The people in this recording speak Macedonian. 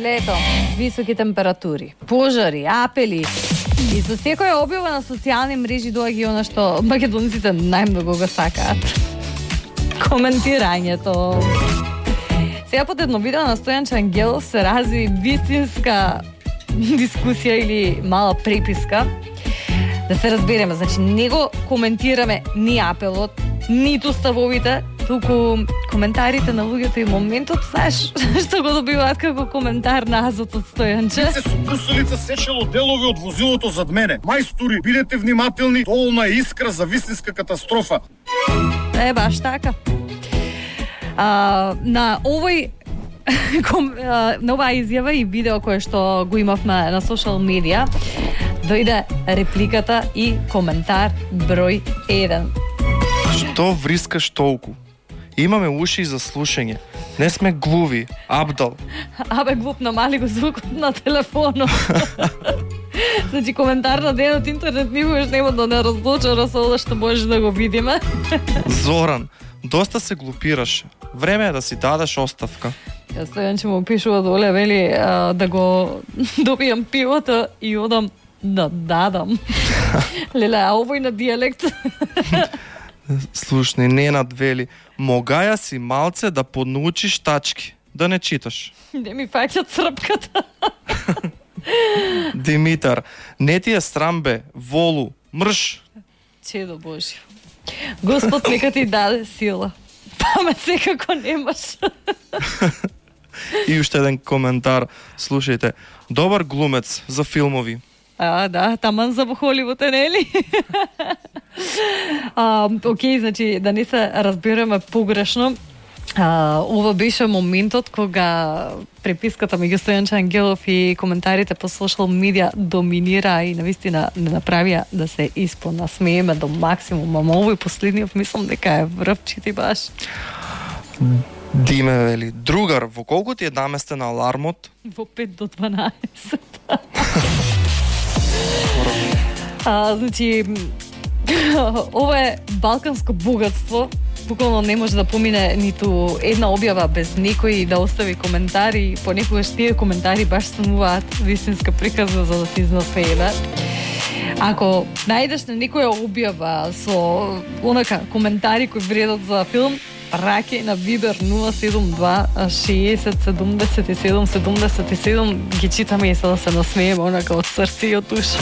лето, високи температури, пожари, апели. И со секоја објава на социјални мрежи доаѓа она што македонците најмногу го сакаат. Коментирањето. Сега под едно видео на Стојанче Ангелов се разви вистинска дискусија или мала преписка. Да се разбереме, значи не го коментираме ни апелот, ниту ставовите, туку коментарите на луѓето и моментот, знаеш, што го добиваат како коментар назад од Стојанче. Се со брусилица сечело делови од возилото зад мене. Мајстори, бидете внимателни, долна искра за вистинска катастрофа. Баш така. На овој на оваа изјава и видео кое што го имавме на социјал медија, дојде репликата и коментар број 1. Што врискаш толку? Имаме уши за слушање. Не сме глуви, Абдал. Абе, глуп, намали го звукот на телефонот. Значи, коментар на денот интернет никогаш нема да не разлучара со ова што можеш да го видиме. Зоран, доста се глупираше. Време е да си дадеш оставка. Стојанче му пишува доле, вели да го добијам пивото и одам да дадам. Леле, а овој на дијалект. Слушни, Ненад вели, могаја си малце да поднаучиш тачки, да не читаш. Не ми фаќат српката. Димитар, не ти е срам бе, волу, мрш. Чедо Божјо. Господ нека ти даде сила. Памет секако немаш. И уште еден коментар, слушајте, добар глумец за филмови. Да, таман за Холивуд е, нели? Океј, значи, да не се разбереме погрешно, ова беше моментот кога преписката меѓу Стојанче Ангелов и коментарите по социјал медија доминира и навистина не направија да се испонасмееме до максимум. Ама овој последниот мислам дека е врвчити баш. Диме вели, другар, во колку ти е наместен алармот? Во 5 до 12. Значи, ова е балканско богатство. Буквално не може да помине ниту една објава без некој да остави коментари. Понекогаш тие коментари баш стануваат вистинска приказна за да се изнасмееме. Ако најдеш на некоја објава со онака коментари кои вредат за филм, праќај на Viber 072 60 77 77, ги читаме и се да се насмееме онака од срце и од душа.